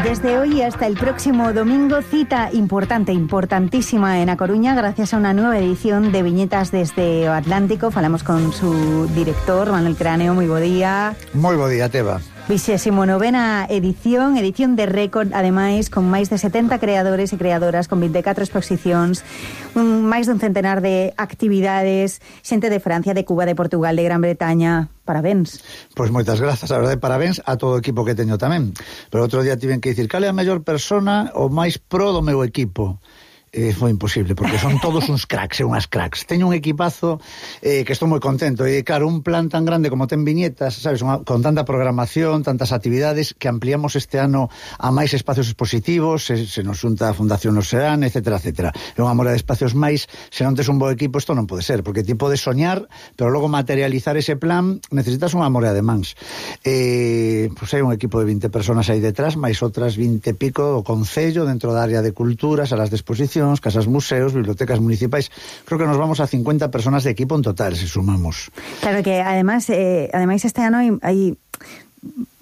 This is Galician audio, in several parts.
Desde hoy hasta el próximo domingo, cita importantísima en A Coruña, gracias a una nueva edición de Viñetas desde o Atlántico. Falamos con su director, Manuel Cráneo. Moi bo día. Moi bo día, Teba. 29ª edición de récord, ademais, con máis de 70 creadores e creadoras, con 24 exposicións, máis dun centenar de actividades, xente de Francia, de Cuba, de Portugal, de Gran Bretaña. Parabéns. Pois moitas grazas, a verdade, parabéns a todo o equipo que teño tamén. Pero outro día tiven que dicir, cal é a mellor persona o máis pro do meu equipo? Foi imposible, porque son todos uns cracks e unhas cracks. Teño un equipazo que estou moi contento. E claro, un plan tan grande como ten Viñetas, sabes, con tanta programación, tantas actividades, que ampliamos este ano a máis espacios expositivos, se nos xunta a Fundación Oceán, etcétera, etcétera. É unha mora de espacios máis. Se non tes un bo equipo, isto non pode ser, porque ti podes soñar, pero logo materializar ese plan necesitas unha mora de mans. Pois hai un equipo de 20 personas aí detrás, máis outras 20 e pico o Concello, dentro da área de cultura, salas de exposición, casas museos, bibliotecas municipais. Creo que nos vamos a 50 personas de equipo en total, se sumamos. Claro que, además este ano hai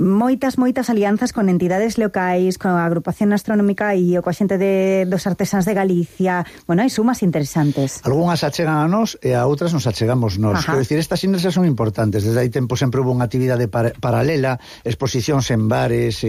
moitas alianzas con entidades locais, con a agrupación astronómica e coa xente dos artesáns de Galicia. Bueno, hai sumas interesantes. Algúnas achegan a nós e a outras nos achegamos nós. Quero dicir, estas sinerxias son importantes. Desde hai tempo sempre hubo unha actividade paralela, exposicións en bares,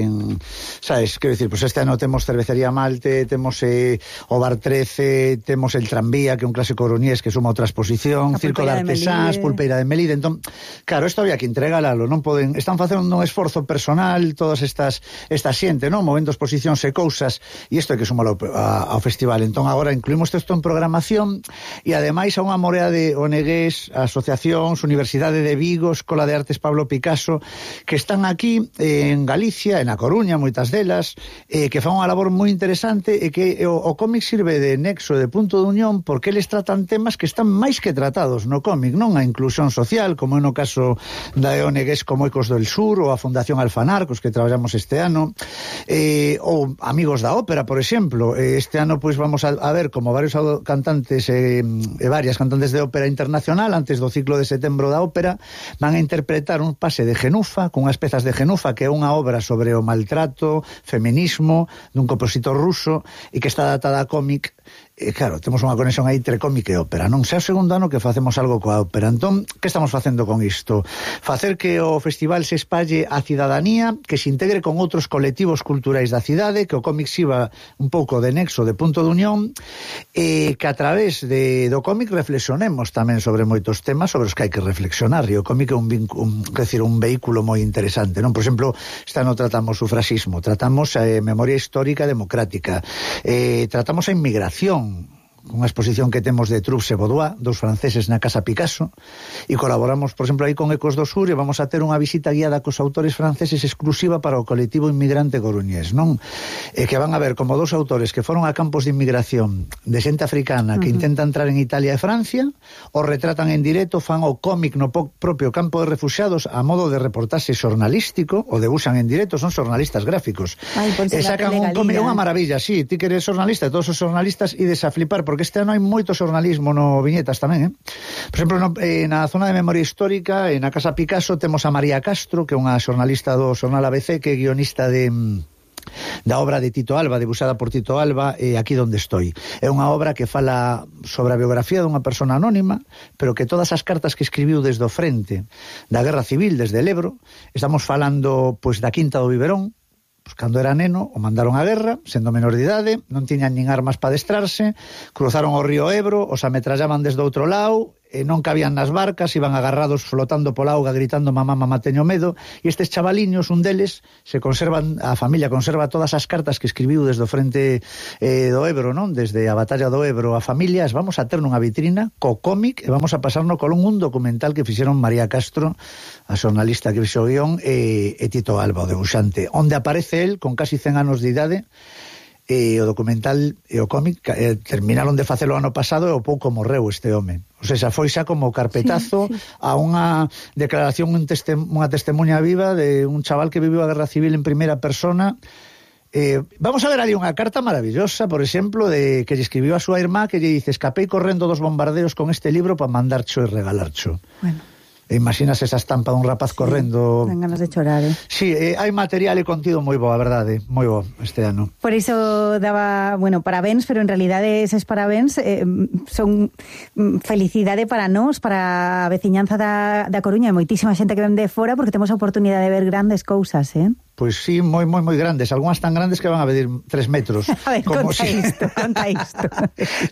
sabes, quero dicir, pues este ano temos Cervecería Malte, temos o Bar 13, temos el Tranvía, que é un clásico coruñés que suma outra exposición, Circo de Artesáns, Pulpeira de Melide. Entón, claro, isto había que entregalo, non poden, están facendo un esforzo personal todas esta xente, non? Movendo exposicións e cousas, e isto é que sumalo ao festival. Entón agora incluímos isto en programación e ademais a unha morea de ONGs, asociacións, Universidade de Vigo, Escola de Artes Pablo Picasso, que están aquí en Galicia, en A Coruña, moitas delas, que fan unha labor moi interesante e que o cómic sirve de nexo, de punto de unión, porque eles tratan temas que están máis que tratados no cómic, non? A inclusión social, como é no caso da ONGs como Ecos del Sur ou a Fundación Alfanar, cos que traballamos este ano, ou Amigos da Ópera, por exemplo. Este ano pois vamos a ver como varios cantantes e varias cantantes de ópera internacional, antes do ciclo de setembro da ópera, van a interpretar un pase de Genufa, con unhas pezas de Genufa, que é unha obra sobre o maltrato, feminismo, dun compositor ruso, e que está datada a cómic. Claro, temos unha conexión aí entre cómic e ópera, non? Xa o segundo ano que facemos algo coa ópera. Entón, que estamos facendo con isto? Facer que o festival se espalle a cidadanía, que se integre con outros colectivos culturais da cidade, que o cómic sirva un pouco de nexo, de punto de unión, e que a través do cómic reflexionemos tamén sobre moitos temas sobre os que hai que reflexionar, e o cómic é un vehículo moi interesante, non? Por exemplo, este ano tratamos o sufraxismo, tratamos a memoria histórica democrática, tratamos a inmigración, unha exposición que temos de Troups e Baudois, dos franceses na Casa Picasso, e colaboramos, por exemplo, aí con Ecos do Sur, e vamos a ter unha visita guiada cos autores franceses exclusiva para o colectivo inmigrante coruñés, non? E que van a ver como dos autores que foron a campos de inmigración de xente africana que intenta entrar en Italia e Francia, o retratan en directo, fan o cómic no propio campo de refuxiados a modo de reportaxe xornalístico, o debuxan en directo, son xornalistas gráficos. E sacan un cómic, é unha maravilla, sí, ti que eres xornalista, todos os xornalistas ides a flipar, porque este ano hai moito xornalismo no Viñetas tamén, Por exemplo, na zona de memoria histórica, na Casa Picasso, temos a María Castro, que é unha xornalista do xornal ABC, que é guionista da obra de Tito Alba, debuxada por Tito Alba, Aquí donde estoy. É unha obra que fala sobre a biografía dunha persona anónima, pero que todas as cartas que escribiu desde o frente da Guerra Civil, desde el Ebro, estamos falando pois da Quinta do Biberón. Pues cando era neno, o mandaron á guerra, sendo menor de idade, non tiñan nin armas para adestrarse, cruzaron o río Ebro, os ametrallaban desde outro lado, non cabían nas barcas, iban agarrados flotando pola auga gritando mamá, mamá, teño medo, e estes chavaliños, un deles, a familia conserva todas as cartas que escribiu desde o frente do Ebro, non? Desde a batalla do Ebro a familia, as vamos a ter nunha vitrina co cómic e vamos a pasarnos con un documental que fixeron María Castro, a xornalista que fixo o guión, e Tito Alba, o debuxante, onde aparece el con casi 100 anos de idade. O documental e o cómic terminaron de facelo ano pasado e o pouco morreu este home. O sea, foi xa como carpetazo a unha declaración, unha testemunha viva de un chaval que viviu a Guerra Civil en primeira persona. Vamos a ver ali unha carta maravillosa, por exemplo, de que lle escribiu a súa irmá, que lle dice: escapei correndo dos bombardeos con este libro para mandarcho e regalarcho. Bueno. Imaginas esa estampa dun rapaz correndo. Dan ganas de chorar, Sí, hai material e contido moi bo, a verdade, moi bo este ano. Por iso daba, parabéns, pero en realidade eses parabéns son felicidade para nós, para a veciñanza da Coruña, e moitísima xente que ven de fora, porque temos a oportunidade de ver grandes cousas, Pois sí, moi grandes, algunhas tan grandes que van a medir 3 metros. A ver, conta isto.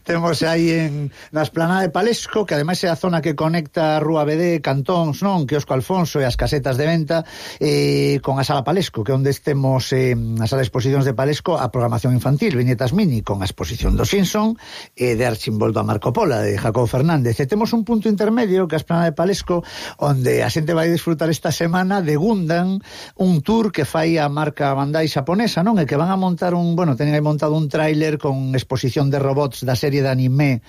Temos aí na esplanada de Palesco, que ademais é a zona que conecta a Rúa BD, Cantóns, non? Quiosco Alfonso e as casetas de venta, con a Sala Palesco, que onde temos na Sala de Exposicións de Palesco a programación infantil, viñetas mini, con a exposición do Simpson e de Archimboldo a Marco Pola, de Jacobo Fernández. E temos un punto intermedio, que é a esplanada de Palesco, onde a xente vai disfrutar esta semana de Gundam, un tour que fai a marca Bandai xaponesa, non? E que van a montar teñen aí montado un tráiler con exposición de robots da serie de anime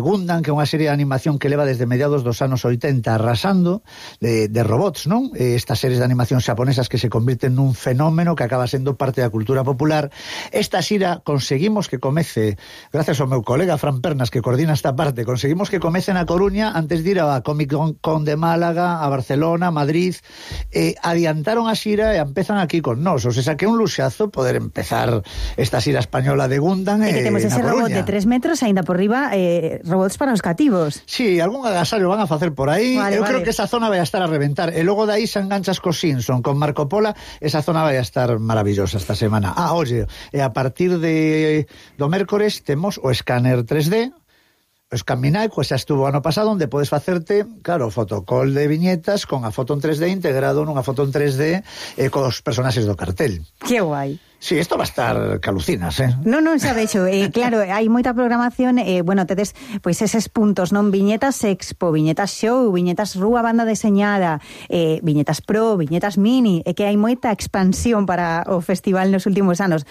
Gundam, que é unha serie de animación que leva desde mediados dos anos 80 arrasando de robots, non? Estas series de animación xaponesas que se convirten nun fenómeno que acaba sendo parte da cultura popular. Esta xira conseguimos que comece, gracias ao meu colega Fran Pernas, que coordina esta parte, conseguimos que comece na Coruña antes de ir a Comic Con de Málaga, a Barcelona, Madrid. Adiantaron a xira e empezan aquí con nós, o sea que é un luxazo poder empezar esta xira española de Gundam e que temos ese robot de 3 metros aínda por riba, robots para os cativos. Sí, algún agasallo van a facer por aí. Eu creo que esa zona vai a estar a reventar, e logo de aí se enganchas co Simpson, con Marco Pola, esa zona vai a estar maravillosa esta semana. Oye, e a partir do mércores temos o escáner 3D, o Scanminai, xa estuvo ano pasado, onde podes facerte, claro, fotocall de viñetas con a foto en 3D integrado nunha foto en 3D cos personaxes do cartel. Que guai. Sí, isto va a estar calucinas, Non, xa vexo, claro, hai moita programación, tedes, pois, eses puntos, non? Viñetas Expo, viñetas Show, viñetas Rúa Banda Deseñada, viñetas Pro, viñetas Mini, e que hai moita expansión para o festival nos últimos anos.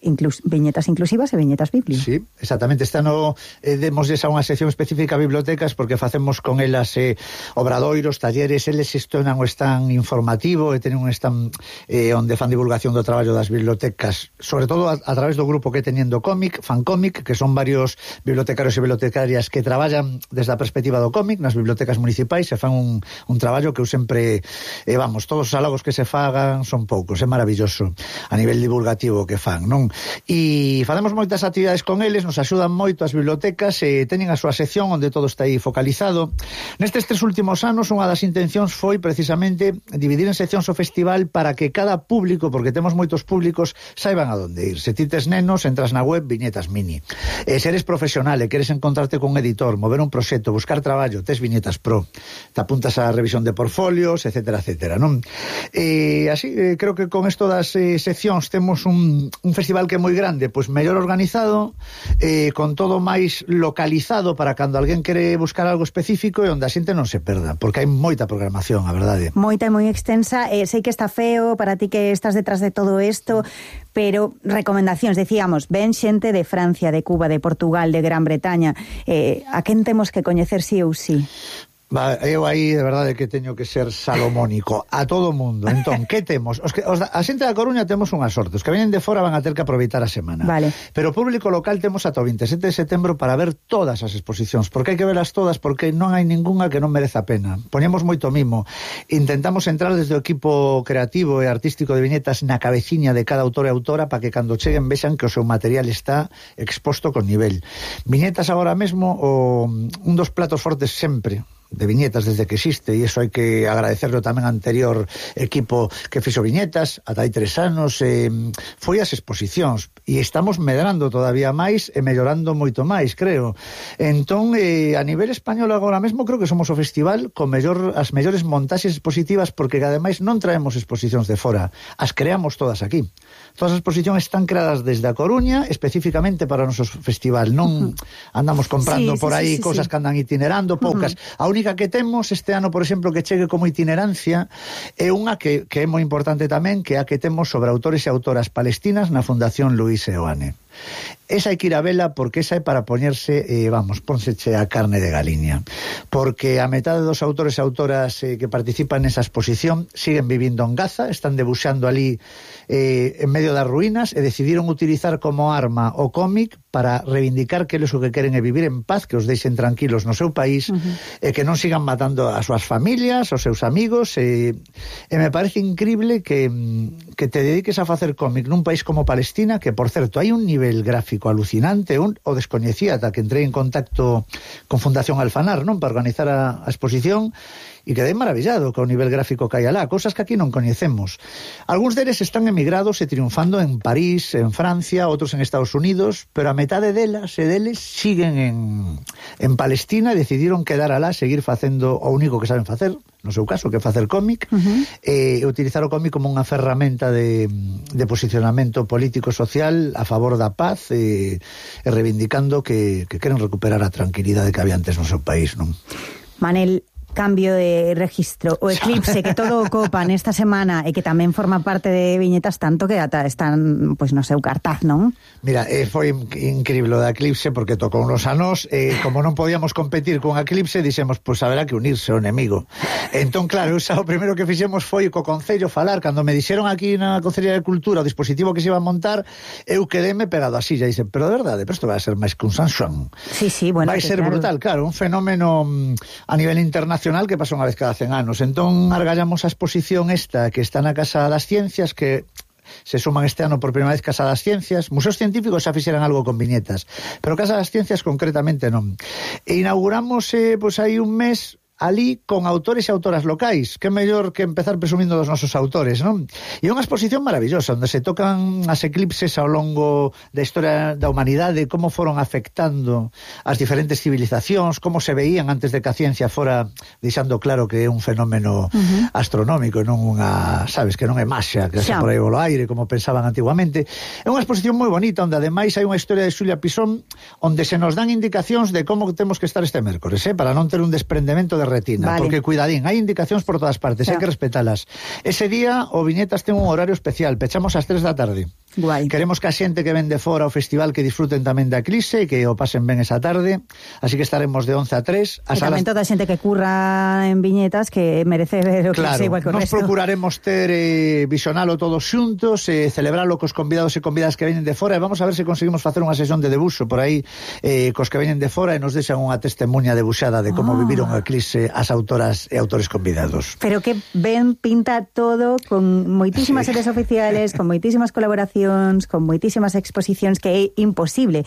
Viñetas inclusivas e viñetas Biblia. Sí, exactamente. Este ano demosles a unha sección específica a bibliotecas, porque facemos con elas obradoiros, talleres, eles gestionan o stand informativo e tenen un stand onde fan divulgación do traballo das bibliotecas, sobre todo a través do grupo que Teniendo Cómic, Fancómic, que son varios bibliotecarios e bibliotecarias que traballan desde a perspectiva do cómic nas bibliotecas municipais e fan un traballo que eu sempre todos os halagos que se fagan son poucos, é maravilloso a nivel divulgativo que fan, non? E facemos moitas actividades con eles, nos axudan moito as bibliotecas e teñen a súa sección onde todo está aí focalizado. Nestes 3 últimos anos, unha das intencións foi precisamente dividir en seccións o festival para que cada público, porque temos moitos públicos, saiban a donde ir. Se ti tes nenos, entras na web Viñetas Mini. Se eres profesional e queres encontrarte con un editor, mover un proxecto, buscar traballo, tes Viñetas Pro, te apuntas á revisión de portfolios, etcétera, etcétera, non? Así, creo que con isto das seccións temos un festival que é moi grande, pois mellor organizado, con todo máis localizado para cando alguén quere buscar algo específico e onde a xente non se perda, porque hai moita programación, a verdade. Moita e moi extensa, sei que está feo para ti que estás detrás de todo isto, pero recomendacións, decíamos, ven xente de Francia, de Cuba, de Portugal, de Gran Bretaña, a quen temos que coñecer sí ou sí? Eu aí de verdade que teño que ser salomónico a todo o mundo. Entón, que temos? A xente da Coruña temos unha sorte, os que veñen de fora van a ter que aproveitar a semana, vale. Pero o público local temos ata o 27 de setembro para ver todas as exposicións, porque hai que verlas todas, porque non hai ningunha que non mereza a pena. Poñemos moito mimo, intentamos entrar desde o equipo creativo e artístico de viñetas na cabeciña de cada autor e autora para que cando cheguen vexan que o seu material está exposto con nivel. Viñetas agora mesmo, un dos platos fortes sempre de viñetas desde que existe, e iso hai que agradecerlo tamén ao anterior equipo que fixo viñetas ata hai 3 anos, foi as exposicións, e estamos medrando todavía máis e mellorando moito máis, creo. Entón, a nivel español agora mesmo creo que somos o festival con as mellores montaxes expositivas, porque ademais non traemos exposicións de fora, as creamos todas aquí. Todas as exposicións están creadas desde a Coruña especificamente para o noso festival, non andamos comprando por aí cousas que andan itinerando, poucas. A única que temos este ano, por exemplo, que chegue como itinerancia é unha que é moi importante tamén, que é a que temos sobre autores e autoras palestinas na Fundación Luis Seoane. Esa hai que ir a vela porque esa é para poñerse, pónseche a carne de galiña. Porque a metade dos autores e autoras que participan nesa exposición siguen vivindo en Gaza, están debuxando ali en medio das ruínas e decidiron utilizar como arma o cómic para reivindicar que eles o que queren é vivir en paz, que os deixen tranquilos no seu país e que non sigan matando as súas familias, os seus amigos e me parece increíble que te dediques a facer cómic nun país como Palestina, que por certo hai un nivel gráfico alucinante, o descoñecía ata que entrei en contacto con Fundación Alfanar, non, para organizar a exposición, e quedei maravillado co nivel gráfico que hai alá, cousas que aquí non coñecemos. Algúns deles están emigrados e triunfando en París, en Francia, outros en Estados Unidos, pero a metade delas e deles siguen en Palestina e decidiron quedar alá, seguir facendo o único que saben facer, no seu caso, que é facer cómic, e utilizar o cómic como unha ferramenta de posicionamento político social a favor da paz e reivindicando que queren recuperar a tranquilidade que había antes no seu país, non? Manel, cambio de registro, o eclipse que todo o copan esta semana e que tamén forma parte de Viñetas tanto que ata están pois no seu cartaz, non? Mira, foi increíble o da eclipse porque tocou unos anos como non podíamos competir con a eclipse, dixemos, pois haberá que unirse ao enemigo. Entón, claro, o primeiro que fixemos foi co Concello falar, cando me dixeron aquí na Concellería de Cultura o dispositivo que se iba a montar, eu quedéme pegado así, já dixen, pero de verdade, pero isto vai a ser máis que un Sanxón. Sí, bueno, vai ser claro. Brutal, claro, un fenómeno a nivel internacional que pasa unha vez cada 100 anos. Entón, argallamos a exposición esta que está na Casa das Ciencias, que se suman este ano por primeira vez Casa das Ciencias. Museos científicos xa fixeran algo con viñetas, pero Casa das Ciencias concretamente non. E inauguramos, pois hai un mes ali con autores e autoras locais, que é mellor que empezar presumindo dos nosos autores, non? E unha exposición maravillosa, onde se tocan as eclipses ao longo da historia da humanidade, como foron afectando as diferentes civilizacións, como se veían antes de que a ciencia fora deixando claro que é un fenómeno astronómico, non unha, sabes, que non é maxia, que se por aí polo aire, como pensaban antiguamente. É unha exposición moi bonita, onde ademais hai unha historia de Xulia Pisón, onde se nos dan indicacións de como temos que estar este mércores, para non ter un desprendemento de retina, porque cuidadín, hai indicacións por todas partes, hai que respetalas. Ese día o Viñetas ten un horario especial, pechamos ás 3 da tarde. Guai. Queremos que a xente que ven de fora ao festival que disfruten tamén da eclipse e que o pasen ben esa tarde, así que estaremos de 11 a 3. E tamén toda a xente que curra en Viñetas que merece ver o claro, eclipse igual que o resto. Nos procuraremos ter visionalo todos xuntos, celebralo cos convidados e convidadas que veñen de fora, e vamos a ver se conseguimos facer unha sesión de debuxo por aí cos que veñen de fora e nos deixan unha testemunha debuxada de como viviron o eclipse as autoras e autores convidados. Pero que ben pinta todo, con moitísimas series oficiales, con moitísimas colaboracións, con moitísimas exposicións, que é imposible.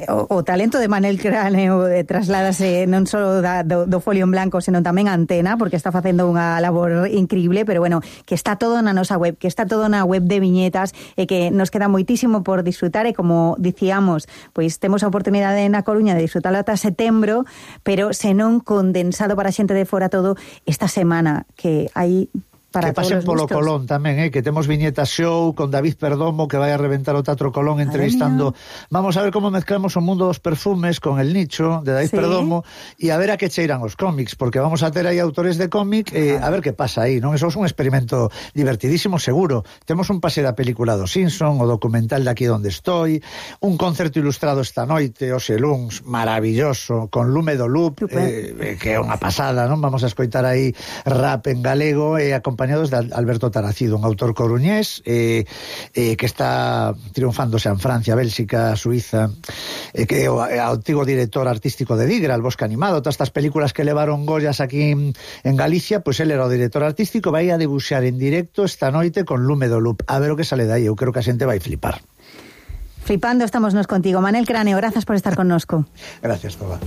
O talento de Manel Cráneo trasládase non só do folio en blanco, senón tamén a Antena, porque está facendo unha labor increíble, pero bueno, que está todo na nosa web, que está todo na web de Viñetas, e que nos queda moitísimo por disfrutar, e como dicíamos, pois temos a oportunidade na Coruña de disfrutarlo ata setembro, pero senón condensado para a xente de fora todo esta semana, que hai para que pasen polo Colón tamén, que temos Viñetas Show con David Perdomo, que vai a reventar o Teatro Colón entrevistando. Vamos a ver como mezclamos o mundo dos perfumes con el nicho de David Perdomo, e a ver a que cheiran os cómics, porque vamos a ter aí autores de cómic, a ver que pasa aí, non? Eso é un experimento divertidísimo, seguro. Temos un pase da película do Simpson, o documental de Aquí donde estoy, un concerto ilustrado esta noite, o Xeluns, maravilloso, con Lume do Loop, que é unha pasada, non? Vamos a escoitar aí rap en galego e acompañados de Alberto Taracido, un autor coruñés que está triunfándose en Francia, Bélxica, Suiza, que é o antigo director artístico de Digra, El Bosque Animado, todas estas películas que levaron Goyas aquí en Galicia, pois él era o director artístico, vai a debuxar en directo esta noite con Lume do Loop. A ver o que sale dai, eu creo que a xente vai flipar. Flipando estamos nos contigo. Manel Cráneo, grazas por estar connosco. Gracias, Toba.